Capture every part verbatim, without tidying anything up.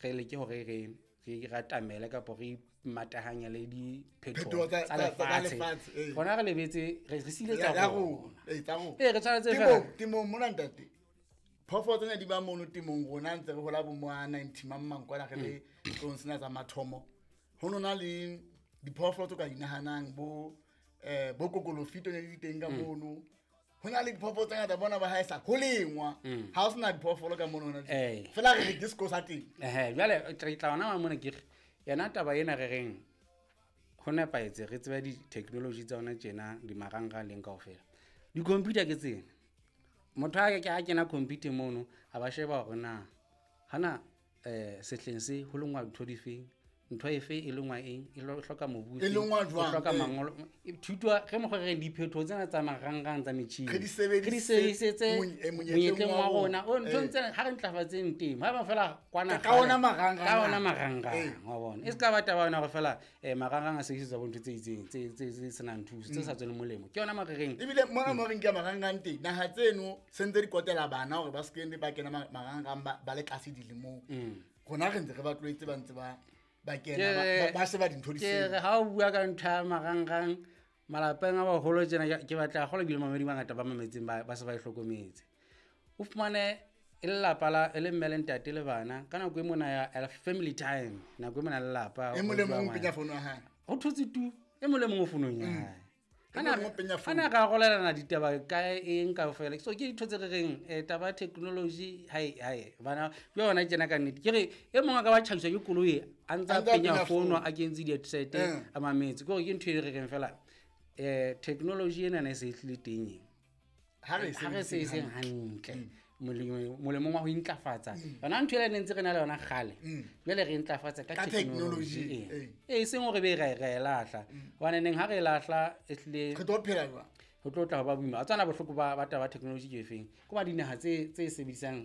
re leke hore re re ratamele kapa re matahanya le diphetoho Phetoho tsa- tsa tsa- tsa lefatshe lefatshe, ee. rona re lebetse re re sile tsa Ya- ya rona rona ee, tsa rona. ee re tshwanetse fela Temong- temong mona ntate phoofolo tsena di ba mono temong rona ntse re hola bo mo a ninety mang mang kwana re le tlong sena tsa mathomo ho no na le diphoofolo tse ka di nahanang bo eh bo kokolofito ne di teng ka mono ho na le diphoofolo tse ngata bona ba haesa ho lengwa ha ho sena diphoofolo ka mono hona Ee. fela re re ke sekolo sa teng ehe jwale re tla ona wa mona ke re yona taba ena re reng ho nepahetse re tsebe di-technology tsa ona tjena di marangrang leng kaofela di-computer ke tsena motho a ke a kena computer mono a ba sheba hore na hana um sehleng se ho lengwa ntho difeng ntho efe e lengwa eng e lo- e hloka mobu E lengwa jwang, e hloka ee. mangolo e- thuto re mokgwa re reng diphetoho tsena tsa marangrang tsa metjhini Re di sebedise re di sebedisetse mony- eh, monyetleng monyetleng wa wa rona rona. o nthong Ee. tsena ha re ntlafatseng temo ha eba fela kwana Ka- ka kgale- ona marangrang ka ona ana. marangrang Ee. wa bona e se ka ba taba yona hore fela um marangrang a sebedisetswa bo ntho tse itseng tse tse- tse senang thuso tse sa tsweleng molemo ke yona mo re reng ebile mona mo re nke marangrang teng naha tseno se ntse di kotela bana hore ba se ke ba kena ma- marangrang ba ba le tlase dilemong rona re ntse re ba tlwaetse ba ntse ba ba kena ba- ba- ba sheba dintho di ke re sele ha o bua ka ntho ya marangrang malapeng a baholo tjena ke ke batla haholo ebile mamedi bangata ba mametseng ba ba se ba e hlokometse o fumane e le lelapa la e le mme le ntate le bana ka nako e mona ya ya family time nako e mona lelapa e mong le mong o penya founu ya hae ho thotse tu e mong le mong o founong ya hae E mong le mong o penya ha na ka arolelana ditaba kae eng kaofela so ke dintho tse re reng um taba ya technology hai hai bana ke yona tjena ka nnete ke re e mongwe a ka ba tjhaiswa ke koloi a ntse A a ntse a penya penya fono founu. a kentse di-headset Eh. a mametse ke gore ke ntho e re reng fela um technology enana e se e tlile teng e ha re e ha re se sebediseng eseng hantle molemo- molemong wa ho intlafatsa yona ntho ele ne ntse re na le yona kgale jwale re intlafatsa ka Ka technology technology, ee e seng hore be re re e lahla hobane neng ha re e lahla e hlile re tlo phela jwang ho tlo tla ho ba boima a tswana bohloko ba ba taba ya technology ke efeng ke ba dinaha tse tse e sebedisang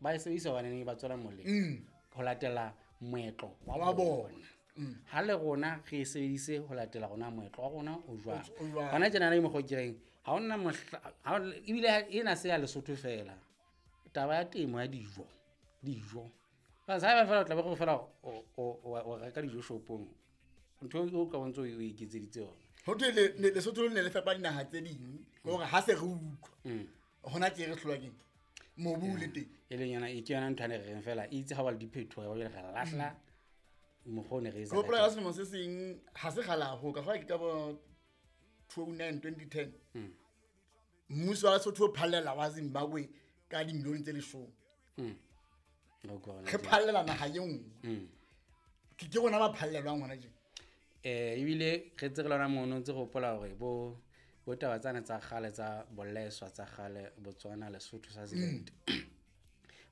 ba e sebedisa hobane neng ba tswela molemo ho latela moetlo wa Wa bona bona. ha le rona re e sebedise ho latela rona moetlo wa rona o jwang O jwang. hona tjena le mokgwa o ke reng ha hona mohla ha o- ebile ha- ena se ya Lesotho fela taba ya temo ya dijo dijo Because haeba fela o tla be gore fela o- o o- o reka dijo shopong ntho eo ka bontse o e iketseditse yona ho thwe le- le- lesotho le ne le fepa dinaha tse ding ke hore ha se re utlwa hona tje re hlolwa keng mobu o le teng e leng yona e ke yona ntho ane re reng fela e itse ha ba le diphetoho ya ba jwale re lahla mokgwa o ne re etsa ke hopola ka ka teng. selemo se seng ha se kgale haholo ka kgola ke ka bo two oh nine twenty ten mmuso wa Lesotho o phallela wa Zimbabwe ka dimilione tse leshome O ke hona re tje. phallela naha e nngwe ke ke rona ba phallelwang hona tje eh ebile re tse re lona mono ntse re hopola hore bo bo taba tsane tsa kgale tsa boleswa tsa kgale Botswana Lesotho Swaziland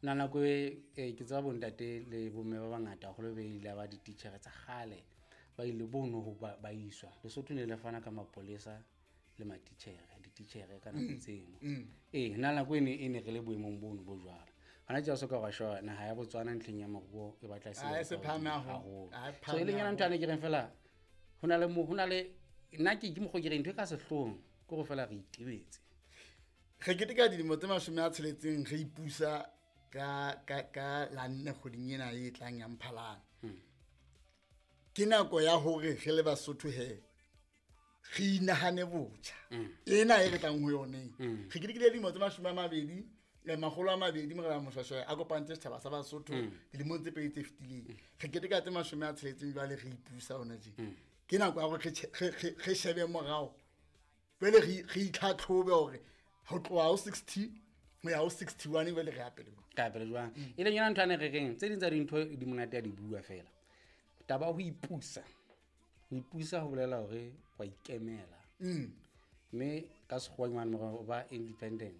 na nako e eh, ke tseba bontate le bomme ba bangata haholo be ile ba dititjhere tsa kgale ba ile bono ho ba ba iswa Lesotho ne le fana ka mapolesa le matitjhere dititjhere ka nako tseno ee na nako e ne e ne re le boemong bono bo jwalo hona tje o soka wa sheba naha ya Botswana ntlheng ya moruo e batla e se Ah, e se ka phahame hodimo haholo. haholo. Ah, e So e phahame leng yona ntho ane ke reng fela ho na le mo ho na le nna ke ke mokgwa ke reng ntho e ka sehloohong ke hore fela re itebetse re keteka dilemo tse mashome a tsheletseng re ipusa ka ka ka la nne kgweding ena e tlang ya Mphalane ke nako ya hore re le Basotho he re inahane botjha ena e re tlang ho yone re ketekile dilemo tse mashome a mabedi eh, makgolo a mabedi morena Moshweshwe a kopantse setjhaba sa Basotho dilemong tse pedi tse fetileng re keteka tse mashome a tsheletseng jwale re ipusa hona tje ke nako ya hore re tjhe- re- re- re shebe morao jwale re re itlhatlhobe hore ho tloha ho sixty ho ya ho sixty one jwale re ya pele jwang. ka pele jwang e leng yona ntho ane re reng tse ding tsa dintho di monate ya di bua fela taba ya ho ipusa ho ipusa ho bolela hore wa ikemela mme ka sekgowa mane mora o ba independent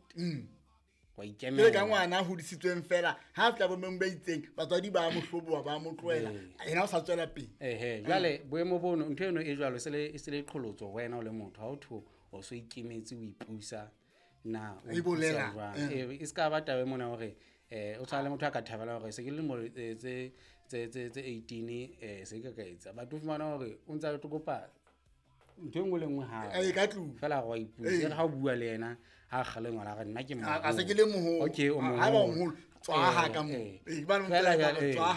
wa Jwale ikemela ka ngwana a hodisitsweng fela ha a fihla boemong bo itseng batswadi ba mo hloboha ba mo tlohela yena o sa tswela pele ehe jwale boemo bono ntho eno e jwalo e se le e se le qholotso ho wena o le motho ha o thwe o so ikemetse o ipusa na o E bolela, ipusa jwang eh. e se ka ba taba e mona hore eh o tshwana le motho a ka thabela hore se ke le lemo eh, tse tse tse tse eighteen eh se ke ka etsa batho o fumana hore o ntse a tlo kopa ntho e nngwe le nngwe hape Eh, ka tlung. fela wa ipusa Eh. e re ha o bua le yena ha kgale ngwana re nna ke A- a se ke le moholo. okay o Ha- haeba o moholo moholo, tswa ha Eh, ka moo. eh. Eh, ba le Fela motswadi jwale, ba re, eh. tswa